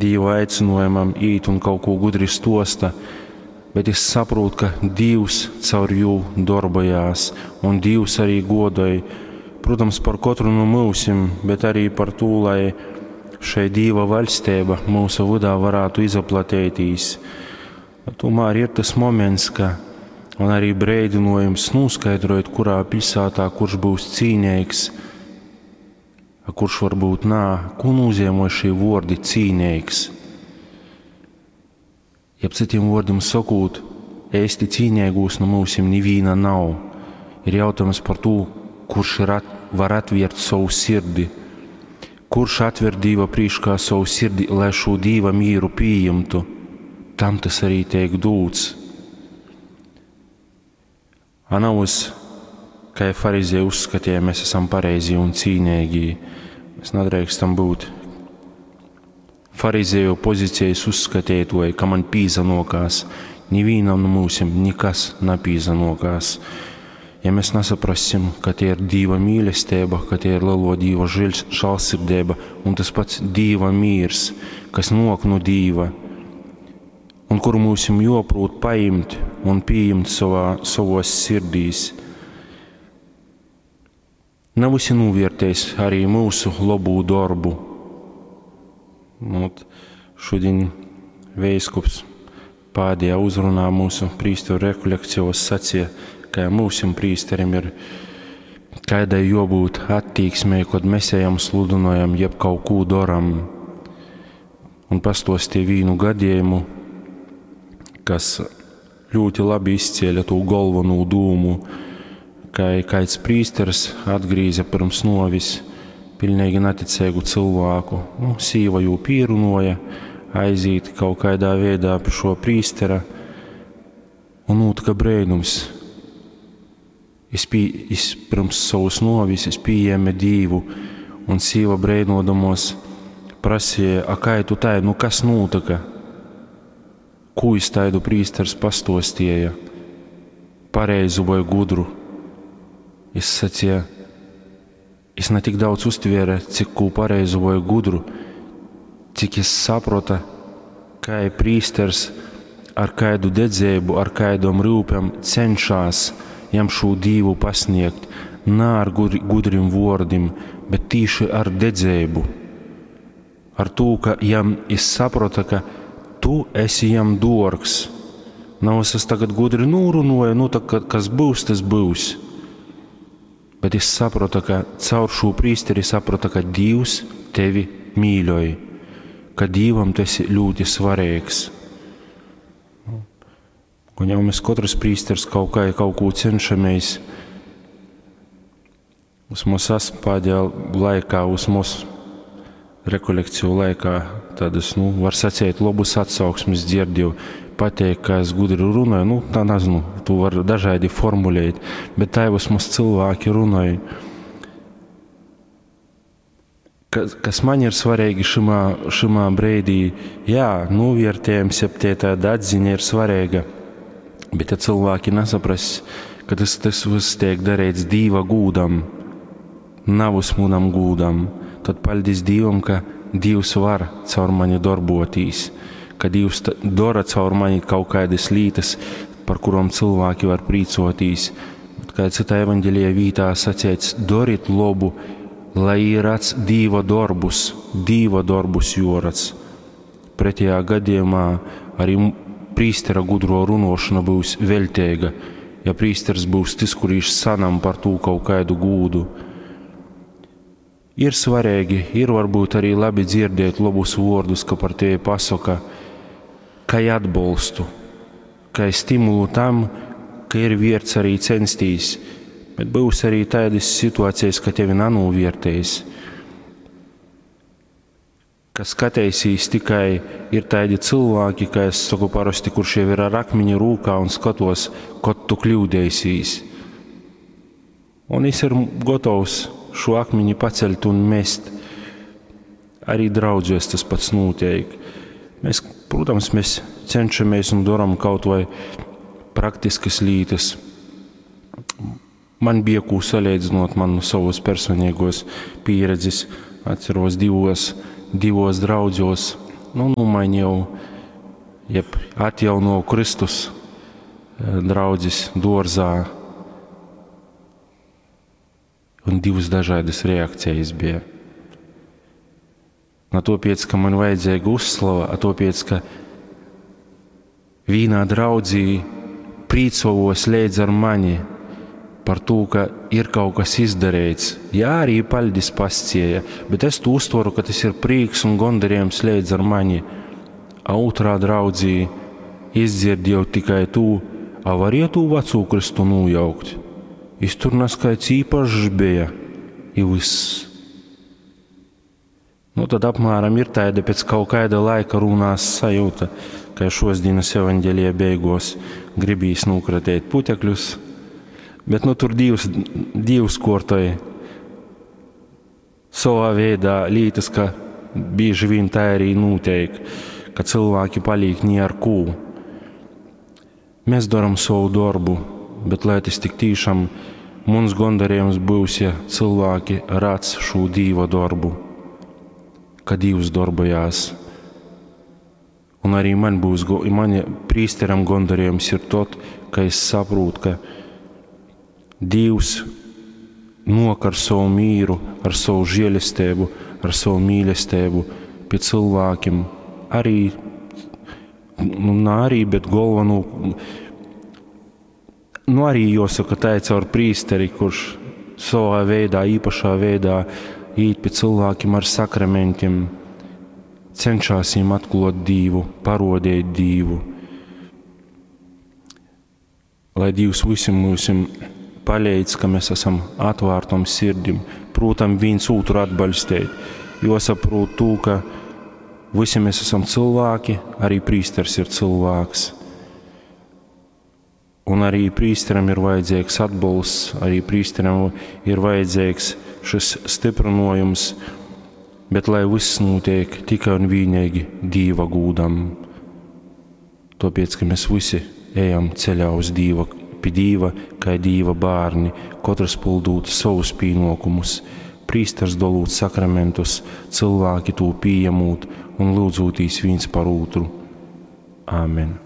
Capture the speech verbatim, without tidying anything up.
Dīva aicinojumam īt un kaut ko gudri stosta, bet es saprotu, ka Dīvs caur jū darbojās un Dīvs arī godoj, protams, par katru no mūsim, bet arī par to, lai šai Dīva vaļstība mūsu vydā varētu izaplatētīs. Tomēr ir tas moments, ka un arī breidinojums noskaidrojot, kurā pilsētā kurš būs cīnīgs, a kurš varbūt nā, ko nozīmē šī vordi cīnīgs. Jeb citiem vārdiem sakot, ēsti cīnīgūs no mūsim nivīna nav. Ir jautājums par to, kurš ir at, var atvērt savu sirdi, kurš atver Dīva prīškā savu sirdi, lai šo Dīva mīru pieņemtu, tam tas arī tiek dūts. A nav uz, kā farizēji uzskatīja, mēs esam pareizi un cīnīgi. Mēs nedrīkstam būt farizēju pozīcijas uzskatītoji, ka man pīzanokās. Nivīnam no mūsim nekas napīzanokās. Ja mēs nesaprasim, ka tie ir Dīva mīlestība, ka tie ir lielo Dīva žēlsirdība un tas pats Dīva mīrs, kas nok no Dīva, un kuru mūsim joprūt paimt un pieņemt savā, savos sirdīs. Nav visi novērtējis arī mūsu labu darbu. Nu, šodien veiskups pēdējā uzrunā mūsu prīsteru rekolekcijos sacīja, ka mūsim prīsterim ir kādai jābūt attieksmei, kad mēs ejam sludinojam, jeb kaut ko daram. Un pastostīja vīnu gadījumu, kas ļoti labi izcēla to galveno dūmu, ka kāds prīsteris atgrīza pirms novis pilnīgi neticīgu cilvēku. Nu, sīva jū pīrunoja, aiziet kaut kādā veidā pie šo prīstera, un notika brēnums. Es, pie, es pirms savas novis es pieņēmu Dīvu, un sīva brēnodamos prasīja, a kā tu tai, nu kas notika? Ko es taidu prīsters pastostīja? Pareizu vai gudru? Es sacīju, es ne tik daudz uztvēru, cik ko pareizu vai gudru, cik es sapratu, kā prīsters ar kādu dedzību, ar kādam rūpēm cenšas jam šo Dīvu pasniegt, ne ar gudri, gudrim vārdiem, bet tīši ar dedzību. Ar to, ka jam es sapratu, ka tu esi jam dorgs. Nav es tagad gudri nūrunoju, nu tā, kas būs, tas būs. Bet es sapratu, ka caur šo prīsteri sapratu, ka Dievs tevi mīļoj, ka Dievam tu esi ļoti svarīgs. Un jau mēs katrs prīsters kaut kā kaut ko cenšamies. Uz mums pēdējā laikā, uz mums rekolekciju laikā tādas, nu, var sacīt, labus atsauksmes dzirdēju. Pateikt, ka es gudri runāju, nu, tā nezinu, tu var dažādi formulēt, bet tā vismaz cilvēki runāja. Kas, kas man ir svarīgi šimā, šimā brīdī, jā, novērtējums, jeb tie tāda atziņa ir svarīga, bet ja cilvēki nesaprast, ka tas, tas viss tiek darīts Dīva gūdam, nav uz munam gūdam, tad paldies Dievam, ka Dievs var caur mani darbotīs, ka Dievs dara caur mani kaut kādas lietas, par kurām cilvēki var prīcotīs. Bet kā citā evaņģēlijā vītā sacīts, dariet labu, lai redz Dieva darbus, Dieva darbus jorats. Pretējā gadījumā arī prīstera gudro runošana būs veltīga, ja prīsters būs tas, kurš sanam par to kaut kādu gūdu. Ir svarīgi, ir varbūt arī labi dzirdēt labus vārdus, ka par tevi pasaka, ka atbalstu, ka stimulu tam, ka ir vērts arī censties, bet būs arī tādas situācijas, ka tevi nanovērtēs, ka skatīsies tikai ir tādi cilvēki, kā es saku parasti, kurš jau ir ar akmeņu rūkā un skatos, kad tu kļūdēsies. Un es ir gatavs šo akmeņu paceļt un mest. Arī draudzēs tas pats notiek. Mēs, protams, mēs cenšamies un darām kaut vai praktiskas lietas. Man bija ko salīdzinot man no savas personīgos pieredzes. Atceros divos, divos draudzos Nu, nūmainīju, jeb atjaunoju Kristus draudzis duorzā. Un divas dažādas reakcijas bija. Na topiec, ka man vajadzīga uzslava, a topiec, ka vīnā draudzī prīcovos leidz ar mani par to, ka ir kaut kas izdarīts. Jā, arī paļdis pascieja, bet es to uztveru, ka tas ir prīks un gondarījums leidz ar mani. A otrā draudzī izdzirdēju tikai tū, a varēja tū veco Kristu nojaukt. Jis tur naskaits īpašs bija, i viss. Nu, tad apmēram ir tāda pēc kaut kāda laika runās sajūta, ka šos dienas evaņģēlija beigos gribīs nokratēt putekļus, bet nu tur Dievs, Dievs kortoja savā veidā lītas, ka bieži vien tā arī notiek, ka cilvēki paliek ni ar kū. Mēs daram savu darbu, bet lai tas tik tiešām mums gondarījums būs, ja cilvēki redz šo Dieva darbu, ka Dievs darbojās. Un arī man būs, man prīsteram gondarījums ir tot, ka es saprotu, ka Dievs nok ar savu mīru, ar savu žēlastību, ar savu mīlestību pie cilvēkiem. Arī, nu, nā arī, bet galveno, nu arī jāsaka tā ir caur prīsteri, kurš savā veidā, īpašā veidā īt pie cilvēkiem ar sakramentiem, cenšas viņiem atklāt Dievu, parodēt Dievu. Lai Dievs visiem mums palīdz, ka mēs esam atvērtom sirdim, prūtam viens otru atbalstīt, jo saprot to, ka visi mēs esam cilvēki, arī prīsters ir cilvēks. Un arī prīsteram ir vajadzīgs atbalsts, arī prīsteram ir vajadzīgs šis stiprinojums, bet lai viss notiek tikai un vienīgi Dieva gūdam. Tāpēc, ka mēs visi ejam ceļā uz Dieva, pie Dieva, kā Dieva bērni, katrs pildot savus pienākumus, prīsters dolūt sakramentus, cilvēki to pieņemot un lūdzotīs viens par otru. Āmen.